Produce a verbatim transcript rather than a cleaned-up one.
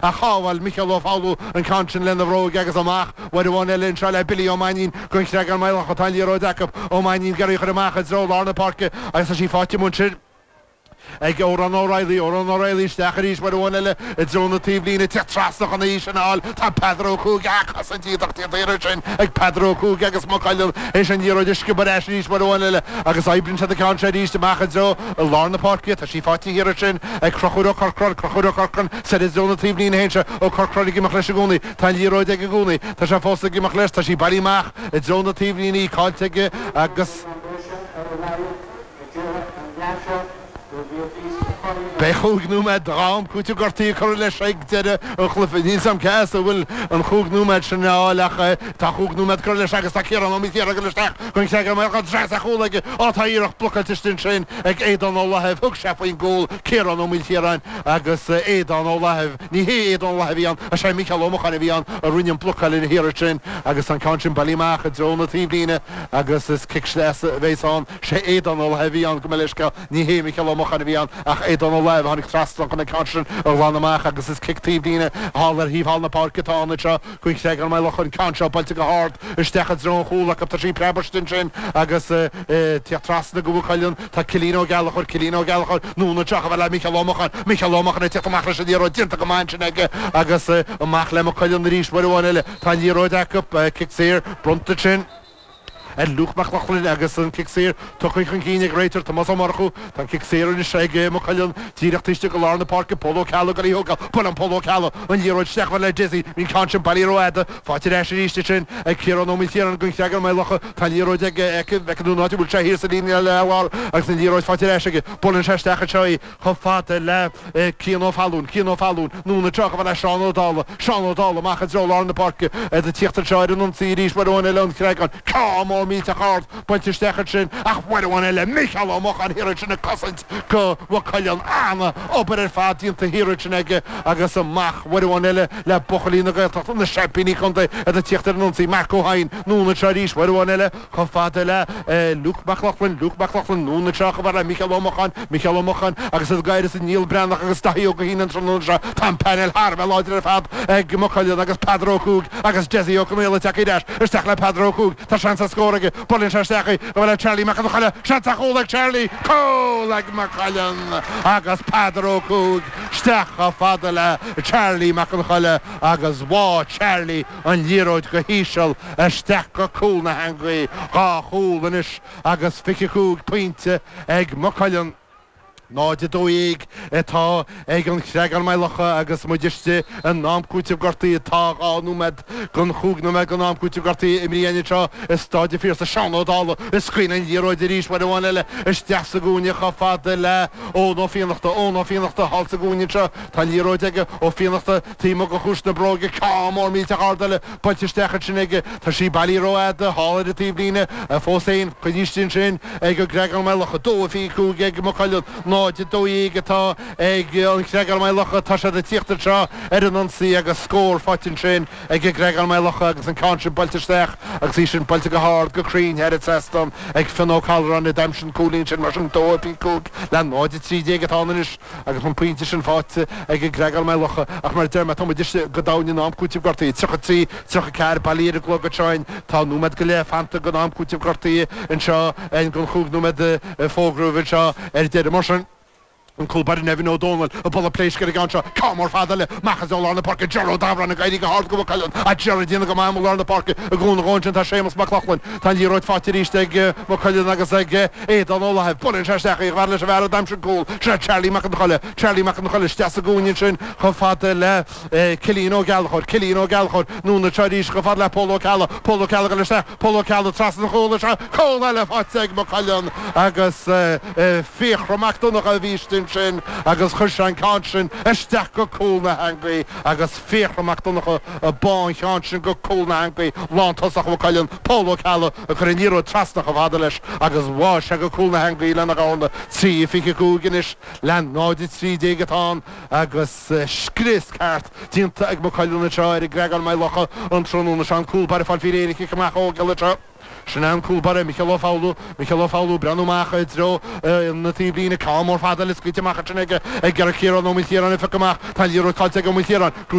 A shábháil Micheál Ó Foghlú an ceann sin lena bhróig agus amach uair amháin eile anseo le Billy Ó Mainnín don Chreagán Maigh Locha. Tá an liathróid acu. Ó Mainnín ag iarraidh í a chur amach i dtreo lár na páirce agus tá sí faighte amuigh ansin ag Odhrán O'Reilly. Odhrán O'Reilly isteach arís uair amháin eile i dtreo na taobhlíne. Teacht trasna chun í sin a fháil. Tá Peadar Ó Cuaig á cosaint iontach déanta iarraidh sin ag Peadar Ó Cuaig agus Maigh Cuilinn théis an liathróid a sciobadh ar ais arís uair amháin eile agus oibríonn siad an ceann seo arís amach i dtreo lár na páirce. Tá sí faighte thiar ansin ag Conchúr Ó Corcráin. Conchúr Ó Corcráin soir i dtreo na taobhlíne théann sé. Ó Corcráin ag imeacht leis i gcónaí. Tá an liathróid aige i gcónaí. Tá sé fós ag imeacht leis. Tá sí bailithe amach i dtreo na taobhlíne, í caillte aige agus. Beidh chúig nóiméad d'am cúitimh gortaithe curtha leis ag deireadh an chluiche. Níl 's a'm cé as a bhfuil an chúig nóiméad sin a fháil ach tá chúig nóiméad curtha leis agus tá Ciarán Ó Maoilchiaráin ag dul isteach don Chreagán Maigh Locha. Dreas ar chúl aige. Á tá iarracht blocáilte istigh ansin ag Aodán Ó Laithimh. Thug sé faoin gcúl Ciarán Ó Maoilchiaráin agus Aodán Ó Laithimh. Ní hé Aodán Ó Laithimh a bhí ann ach sé Mícheál Ó Mocháin a bhí ann a rinne an blocáil ina hiarracht sin agus an ceann sin bailithe amach i dtreo na taobhlíne agus is cic sleasa a bheas ann. Sé Aodán Ó Laithimh a bhí ann, gabh mo leithscéal, ní hé Mícheál Ó Mocháin a bhí ann ach Aodán Ó Laithimh a tháinig trasna chun an ceann sin a ghlanadh amach agus is cic taobhlíne thall ar thaobh thall na páirce atá ann anseo don Chreagán Maigh Locha. An ceann seo buailte go hard isteach i dtreo an chúil acu. Tá sí preabtha ansin agus tíocht trasna go Maigh Cuilinn. Tá Cillian Ó Gallchóir, Cillian Ó Gallchóir, anonn anseo chomh fada le Mícheál Ó Mocháin, Mícheál Ó Mocháin ag tíocht amach leis an liathróid déanta go maith ansin aige agus amach le Maigh Cuilinn arís uair amháin eile. Tá an liathróid acu, cic saor bronnta ansin ar Luke Mac Lochlainn agus an cic saor tugtha chun cinn ag réiteoir Tomás Ó Murchú. Tá an cic saor anois ag Maigh Cuilinn díreach taobh istigh de lár na páirce. Pól Ó Ceallaigh ag dul í a thógáil. Buaileann Pól Ó Ceallaigh an liathróid isteach chomh fada le Dessie. Bhí an ceann sin bailithe rófhada. Faighte ar ais arís ansin ag Ciarán Ó Maoilchiaráin don Chreagán Maigh Locha. Tá an liathróid aige aici. Bhfeiceann tú an áit a bhfuil sé thiar sa líne láir agus an liathróid faighte ar ais aige. Buaileann sé isteach anseo í chomh fada le Cian Ó Fallúin. Cian Ó Fallúin anonn anseo chomh fada le Seán Ó Dálaigh. Seán Ó Dálaigh amach i dtreo lár na páirce. Iad ag tíocht anseo ar an ionsaí arís uair amháin eile an Chreagáin. Ceann mór millteach ard buailte isteach ansin ach uair amháin eile Mícheál Ó Mocháin thiar ansin ag cosaint do Mhaigh Cuilinn. Ana obair ar fad déanta thiar ansin aige agus amach uair amháin eile le buachaillí na Gaeltachta, na seaimpíní contae, iad ag tíocht ar an ionsaí. Mark Ó hEidhin anonn anseo arís uair amháin eile chomh fada le Luke Mac Lochlainn, Luke Mac Lochlainn anonn anseo chomh fada le Mícheál Ó Mocháin, Mícheál Ó Mocháin agus iad ag éirí as an Niall Breathnach agus Daithí Ó Guithín an tráthnóna seo. Tá an painéal thar a bheith láidir ar fad ag Maigh Cuilinn agus Peadar Ó Cuaig agus Dessie Ó Conaola ag teacht ar ais isteach le Peadar Ó Cuaig. Tá seans ar scór aige. Buaileann sé isteach í chomh fada le Charlie Mac an Cholla. Seans ar chúl ag Charlie. Cúl ag Maigh Cuilinn agus Peadar Ó Cuaig isteach chomh fada le Charlie Mac an Cholla agus bháigh Charlie an liathróid go híseal isteach go cúl na heangaí. Dhá chúl anois agus fiche cúig pointe ag Maigh Cuilinn. náid a dó dhéag atá ag an Chreagán Maigh Locha agus muid istigh in am cúitimh gortaithe. Tá dhá nóiméad den chúig nóiméad den am cúitimh gortaithe imrithe againn anseo i Stáid an Phiarsaigh. Seán Ó Dálaigh ag scaoileadh an liathróid arís uair amháin eile isteach sa gcúinne chomh fada le Eoin Ó Fiannachta. Eoin Ó Fiannachta thall sa gcúinne anseo. Tá an liathróid aige Ó Fiannachta taobh amuigh de chuas na bróige. Ceann mór millteach ard eile buailte isteach ansin aige. Tá sí bailithe rófhada thall ar an taobhlíne fós féin. Coinnithe ansin ag an gCreagán Maigh Locha. Dó a fiche cúig ag Maigh Cuilinn. náid a dó dhéag atá ag an Chreagán Maigh Locha. Tá siad ag tíocht anseo ar an ionsaí agus scór faighte ansin ag an gCreagán Maigh Locha agus an ceann sin buailte isteach agus í sin buailte go hard, go cruinn thar an trasnán ag Fionn Ó Callráin a d'aimsigh an cúilín sin. Mar sin, dó a fiche cúig le náid a trí déag atá ann anois agus an pointe sin faighte ag an gCreagán Maigh Locha. Ach mar a deir mé, tá muid istigh go domhain in am cúitimh gortaithe. tríocha trí, tríocha ceathair bailithe ar an gclog anseo againn. Tá nóiméad go leith fanta den am cúitimh gortaithe anseo den chúig nóiméad a fógraíodh anseo ar deireadh. Mar sin, an cúl báire Nevin Ó Dónaill ag bualadh pléisc ar an gceann seo. Ceann mór fada eile amach as lár na páirce. Ger Ó Dabhráin ag éirí go hard do Mhaigh Cuilinn. Ach Ger ag déanamh go maith i lár na páirce i gcónaí dhó ansin tá Séamus Mac Lochlainn. Tá an liathróid faighte arís ag Maigh Cuilinn agus ag Aodán Ó Lathaimh. Buaileann sé isteach í chomh fada leis an bhfear a d'aimsigh an cúl. Sin é Charlie Mac an Cholla. Charlie Mac an Cholla isteach sa gcúinne ansin chomh fada le Cillian Ó Gallchóir. Cillian Ó Gallchóir anonn anseo arís chomh fada le Pól Ó Ceallaigh. Pól Ó Ceallaigh ag dul isteach. Pól Ó Ceallaigh trasna an chúil anseo. Cúl eile faighte ag Maigh Cuilinn agus Fiachra Mac Donncha a bhí istigh ansin agus chuir sé an ceann sin isteach go cúl na heangaí agus Fiachra Mac Donncha ag bá an cheann sin go cúl na heangaí. Lántosach Mhaigh Cuilinn, Pól Ó Ceallaigh ag cur an liathróid trasna chomh fada leis agus bháigh sé go cúl na heangaí lena dhorna. Trí fiche cúig anois le náid a trí déag atá ann agus scrios ceart déanta ag Maigh Cuilinn anseo ar an gCreagán Maigh Locha an tráthnóna seo. An cúl báire ag fáil faoi réir ag cic amach a thógáil anseo. Sin an cúl báire Micheál Ó Foghlú Micheál Ó Foghlú breathnú amach i dtreo na taobhlíne ceann mór fada le scaoilte amach ansin aige ag iarraidh Ciarán Ó Maoilchiaráin a phiocadh amach tá liathróid caillte ag Ó Maoilchiaráin